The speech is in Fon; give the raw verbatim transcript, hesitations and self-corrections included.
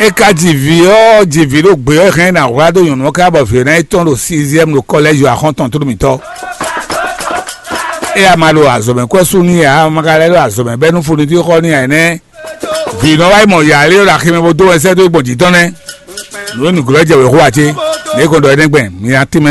É ka ji vǐ ɔ́, ji vǐ ɖo gbě ɔ́, hɛn ná hwlá ɖó nyɔ̌nu ɔ́ ká bɔ vǐ ɔ́ ná yi tɔn ɖo sixième ɖo kɔlɛ́zi axɔ́ntɔn tlú mǐtɔn. É a ma ɖo azɔ̌mɛ kwɛ́ sú n'i ǎ, a ma ka lɛ́ ɖo azɔ̌mɛ bɛ́ nú funití xɔ n'i ǎ nɛ́. Vǐ nɔ wá yi mɔ yǎ lé ɖo aximɛ bó dó wɛnsɛ́ dó gbɔn jǐ tɔn nɛ́. Nǔ e nǔglɔ́ jɛ wěxu ǎ cé? Nǔ e kɔn ɖɔ é nɛ́ gbɛn mi ná tínmɛ.